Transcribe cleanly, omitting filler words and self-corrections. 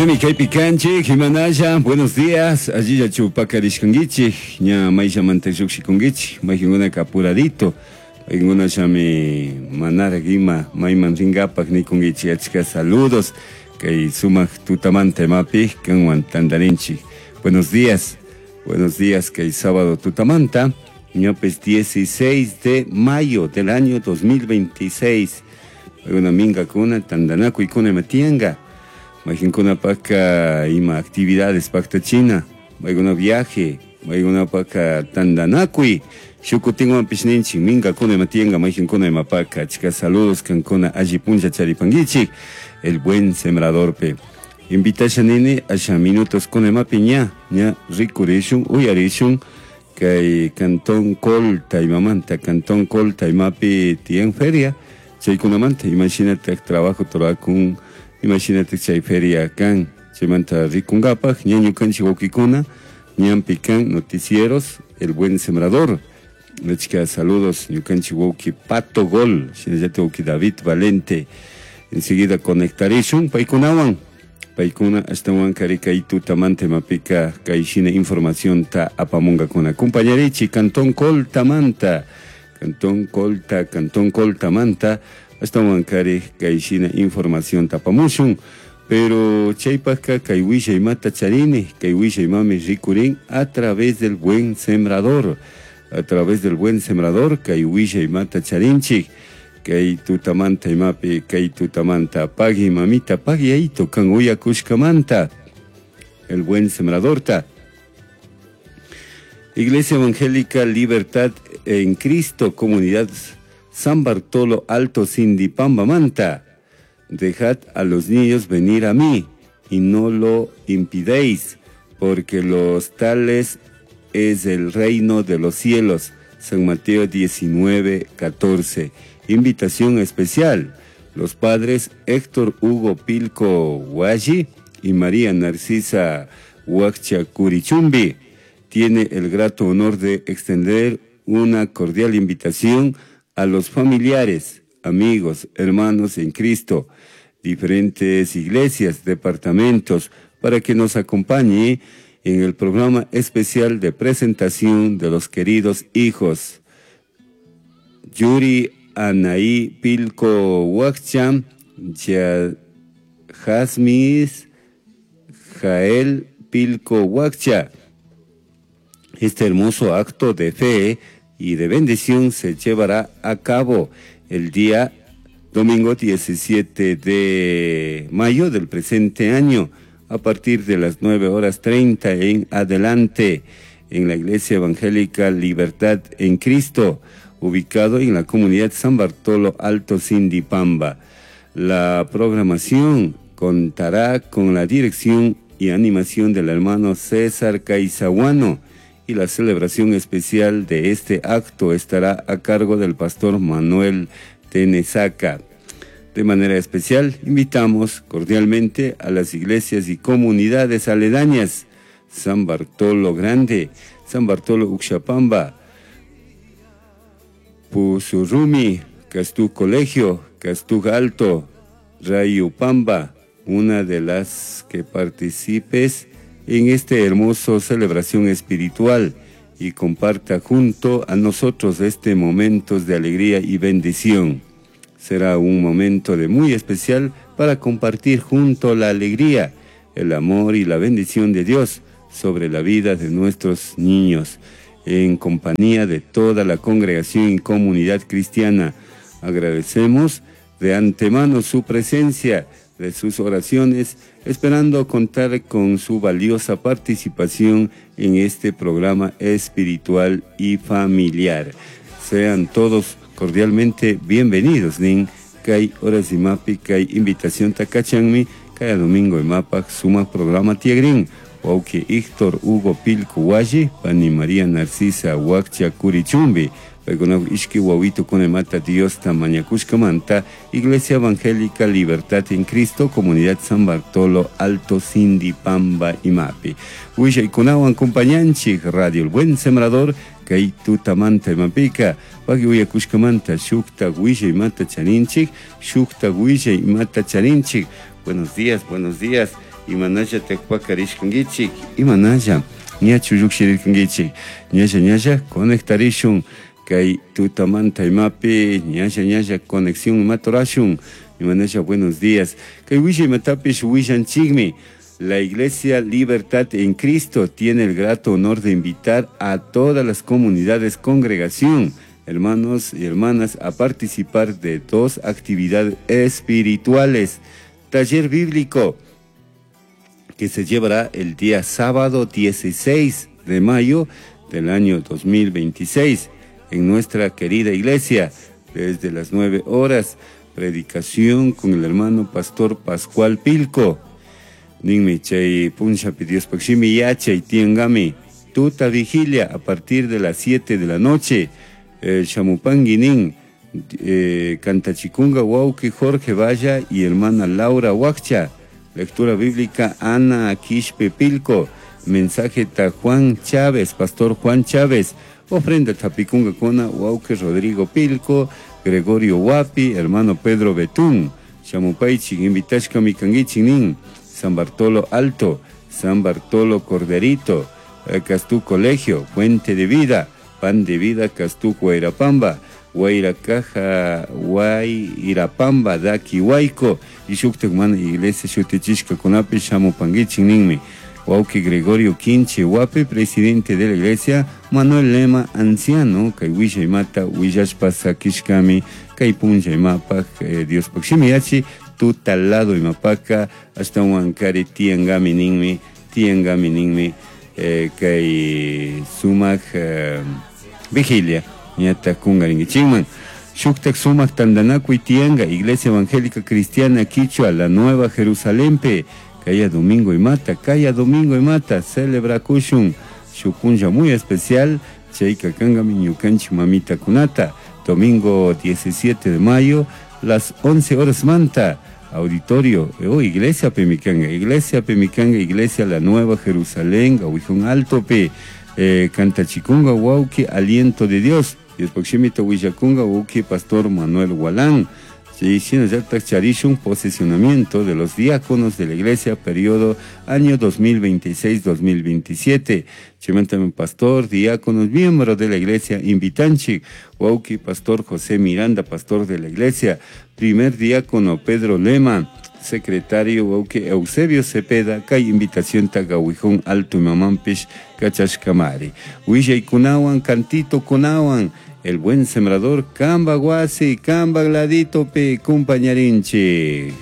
Ñami kaypi kanchik, imanalla, buenos días, allillachu pakarishkankichik, ña mayllamanta llukshikunkichik, maykankunaka apuradito, maykankunallami manarak ima mayman rinkapak nikunkichik, achka saludos, kay sumak tutamanta imapi kanwan tantarinchik. Buenos días, buenos días, kay sábado tutamanta, ñapis 16 de mayo del año 2026, paykuna minkakuna tantanakuykuna ima tiyanka, maykankunapaka ima actividades paktachina, maykuna viaje, maykunapaka tantanakuy, shuk kutinwanpish ninchik minkakuna ima tiyanka maykankuna imapaka, achka saludos kankuna alli punlla charipankichik, el buen sembradorpi. Invitasha nini asha minutos kuna imapi ña, ña rikurishun, uyarishun, kay Cantón Colta imamanta, Cantón Colta imapi tiyan feria, chaykunamanta imashinatak trabajo turakun, imashinatak chay feria kan, chaymanta rikunkapak, ña ñukanchik wawkikuna, ñanpi kan noticieros, El Buen Sembrador. Achka saludos ñukanchik wawki Pato Gol, shinallatak wawki David Valente. Enseguida conectarishun paykunawan, paykuna ashtawan kari kay tutamanta imapika kay shina informacionta apamunkakuna. Compañerichi Cantón Coltamanta, Cantón Colta, Cantón Coltamanta, ashtawan kari kay shina informacionta apamushun. Pero chaypajka kay wishay imata charini, kay wishay imami rikurin a través del Buen Sembrador. A través del Buen Sembrador, kay wishay imata charinchik, kay tutamanta imapi, kay tutamanta, pagui mamita, pagui aito, kan uyakushkamanta, el Buen Sembradorta. Iglesia Evangélica Libertad en Cristo, Comunidad San Bartolo Alto Sindipamba Manta. Dejad a los niños venir a mí y no lo impidéis, porque los tales es el reino de los cielos. San Mateo 19, 14. Invitación especial. Los padres Héctor Hugo Pilco Hualli y María Narcisa Huaccha Curichumbi tiene el grato honor de extender una cordial invitación a los familiares, amigos, hermanos en Cristo, diferentes iglesias, departamentos, para que nos acompañe en el programa especial de presentación de los queridos hijos Yuri Anaí Pilco Huaccha, Jasmis Jael Pilco Huaccha. Este hermoso acto de fe y de bendición se llevará a cabo el día domingo 17 de mayo del presente año, a partir de las 9:30 en adelante, en la Iglesia Evangélica Libertad en Cristo, ubicado en la comunidad San Bartolo Alto Sindipamba. La programación contará con la dirección y animación del hermano César Caizahuano, y la celebración especial de este acto estará a cargo del pastor Manuel Tenesaca. De manera especial, invitamos cordialmente a las iglesias y comunidades aledañas, San Bartolo Grande, San Bartolo Uxapamba, Pusurrumi, Castú Colegio, Castú Alto, Rayupamba, una de las que participes en esta hermosa celebración espiritual y comparta junto a nosotros este momento de alegría y bendición. Será un momento de muy especial para compartir junto la alegría, el amor y la bendición de Dios sobre la vida de nuestros niños, en compañía de toda la congregación y comunidad cristiana. Agradecemos de antemano su presencia, de sus oraciones, esperando contar con su valiosa participación en este programa espiritual y familiar. Sean todos cordialmente bienvenidos. Nin kay horas imapi kay invitación takachanmi kay domingo imapak suma programa tiagrin. Wauki Héctor Hugo Pilco Hualli, pani María Narcisa Huaccha Curichumbi. Paykuna ishki wawito kunemata Diosta mañakushkamanta, Iglesia Evangélica Libertad en Cristo, Comunidad San Bartolo, Alto Sindipamba imapi. Willaykunawan compañanchik, Radio El Buen Sembrador, kay tutamanta imapika, paki uyakushkamanta, shukta willaymata charinchik, shukta willaymata charinchik. Buenos días, buenos días. Imanalla pakarishkankichik, imanalla ñachu llukshirkankichik, ñalla ñalla conectarishun kay tutamanta imapi, ñalla ñalla conexión imaturashun, imanalla buenos días. Kay willa imatapish willanchikmi. La Iglesia Libertad en Cristo tiene el grato honor de invitar a todas las comunidades congregación, hermanos y hermanas, a participar de dos actividades espirituales. Taller bíblico, que se llevará el día sábado 16 de mayo del año 2026 en nuestra querida iglesia, desde las 9 horas, predicación con el hermano pastor Pascual Pilco. Ninmi chay punllapi Diospaj shimi yachay tiangami tuta vigilia a partir de las 7 de la noche. Shamupangui nin Cantachikunga wauki Jorge Valla y hermana Laura Huaccha. Lectura bíblica Ana Quispe Pilco. Mensaje ta Juan Chávez, Pastor Juan Chávez. Ofrenda Tapikunga Kona wauki Rodrigo Pilco, Gregorio Huapi, hermano Pedro Betún. Shamupaichik, invitashka mikanguichik nin. San Bartolo Alto, San Bartolo Corderito, Castú Colegio, Fuente de Vida, Pan de Vida, Castú Guairapamba, Guairacaja, Guairapamba, Daki Huayco, y shuktak mana iglesia shutichishka kunapi shamupanguichik ninmi. Wauki Gregorio Quinche Huapi, presidente de la iglesia, Manuel Lema, anciano, kay wisha imata, willashpa sakishkami, kay punlla imapaj, Diospaj shimi yachi, tutalado imapaka, hasta huankari tiangami ninmi, tiangami ninmi, kay sumak vigilia, ñata kungaringuichikman. Shuktak sumak tandanakuy tianga, Iglesia Evangélica Cristiana Quichua, la Nueva Jerusalén pe, kaya domingo imata, kaya domingo imata, celebra kushun, shupunlla muy especial, chayka kangami ñukanchik mamita kunata, domingo 17 de mayo, las 11 horas manta, auditorio, oh, Iglesia Pemicanga, Iglesia Pemicanga, Iglesia La Nueva Jerusalén, Gawijón Alto pe, Cantachikunga, Wauki, Aliento de Dios, Diospaj Huillacunga, Wauki, Pastor Manuel Gualán. Sí, shinallataq charishun posesionamiento de los diáconos de la iglesia, periodo año 2026-2027. Chimantame pastor, diáconos, miembro de la iglesia, invitanchi, Wauki, pastor José Miranda, pastor de la iglesia, primer diácono Pedro Lema, secretario Wauki Eusebio Cepeda, kay invitación tagawijón alto mamampish kachashkamari. Willay kunawan, cantito kunawan, el buen sembrador, Kamba Guasi, Kamba Gladito pe, compañarinchi.